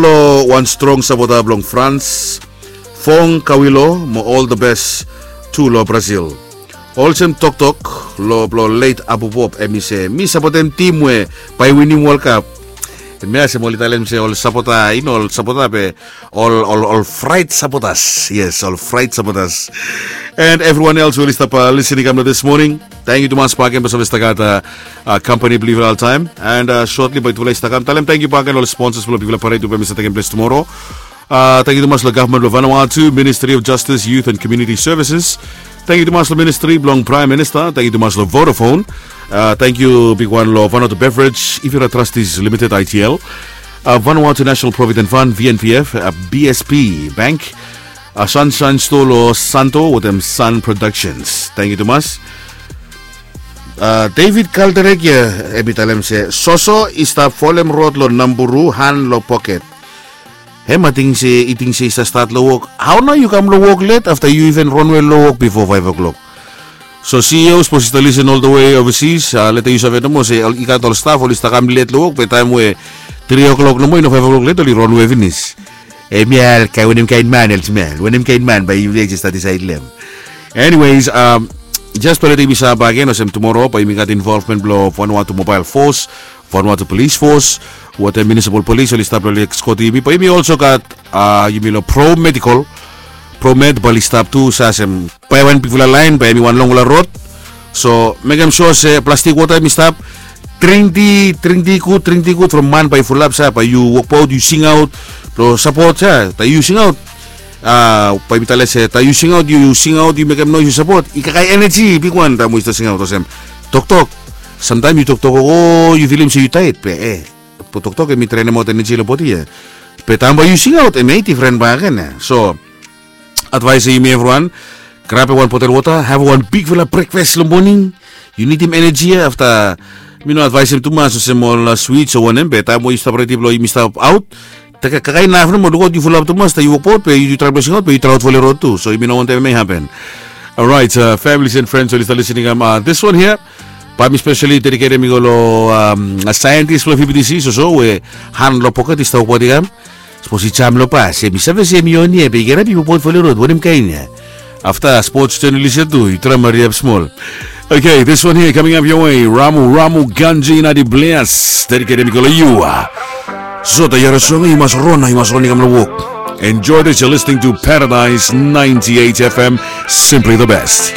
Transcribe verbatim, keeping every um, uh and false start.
Lo wan strong sapota blong Frans, Fong Kawilo mo ol the best tu lo Brazil. Olsem toktok lo blo leit Abubop, em i se mi sapotem tim we bae i winim World Cup. Mi asem oli talem se ol sapota, i no ol sapota be ol ol ol frait sapotas. Yes, ol frait sapotas. And everyone else we oli stap listening kam lo this morning. Tangkiu tumas baken blo save stap gat kampani blo yufala oltaem. And shortly bae yufala i stap kam talem tangkiu baken ol sponsors blo yufala paret we bae i stap tekem ples tumoro. Tangkiu tumas lo gavman blo Vanuatu, Ministry of Justice, Youth and Community Services. Tangkiu tumas lo ministri blong Praem Minista. Tangkiu tumas lo Vodafone. Tangkiu bigwan lo Vanuatu Beverage, Ivira Trustees Limited, I T L, Vanuatu National Provident Fund, V N P F, B S P Bank, Sunshine Store lo Santo wetem Sun Productions. Tangkiu tumas. David Kalderek ya, em i talem se soso i stap folem rod lo Namburu han lo poket. Hem ating se i ting se i stap stat lo wok. Hao nao yu kam lo wok let afta yu iven ronwe lo wok bifo faef o'klok? So CEO sapos i stap lisen ol the way overseas, leta yu save nomo se i gat ol staf oli stap kam let lo wok be taem we tri o'klok nomo i no faef o'klok let oli ronwe finis. Em ya ol kae wanem kaen man ol smel wanem kaen man bae yu leta i stap disaed long. Anyways, jes bae leta yumi save baken olsem tumoro bae yumi gat involvement blo Vanuatu Mobile Force, Vanuatu Police Force, wetem Municipal Police oli stap lo ekskot yumi bae yumi olso gat yumi lo Pro Medical. Pro Med bae oli stap tu save olsem bae wan bigfala laen bae hemi wan longfala rod. So mekem sua se plastik wota hemi stap. Dring ti dring ti gud dring ti gud from man bae i fulap sa bae yu wokbaot yu singaot blo sapot sa taem yu singaot. Bae mi talem se taem yu singaot yu singaot yu mekem noes yu sapot i kakae eneji bigwan taem we yu stap singaot olsem toktok. Samtaem yu toktok o yu filim se yu taet be e toktok hemi drenemaot eneji lo bodi ya. Be taem bae yu singaot hemia i difren baken ya. So advaes ya yumi evriwan, grabem wan botel wota, havem wan bigfala brekfas long moning. Yu nidim eneji ya afta mi no advaesem tumas olsem ol swits o wanem be taem we yu stap redi blong yumi stap aot, kakae inaf nomo lukaot yu fulap tumas taem yu wokbaot be yu traem blong singaot be yu traem aot folem rod tu so yumi no wantem hemia i hapen. Orait, families and friends oli stap lisening kam, this one here bae mi spesali dediketem i go long saentis blong fibitisi soso we han long poket i stap wokbaot i kam. Sapos i jam long bas em i save se em i on ya be i gat ap i wokbaot folem rod wanem kaen ya? Afta spots jenalis ya tu yu traem hariap smol. Okay, this one here coming up your way. Ramu Ramu Ganji Nadi Blias, dediketem i go long yu. Sota yara song yu mas ron yu mas ron i kam long wok. Enjoy this, you're listening to Paradise ninety-eight F M, simply the best.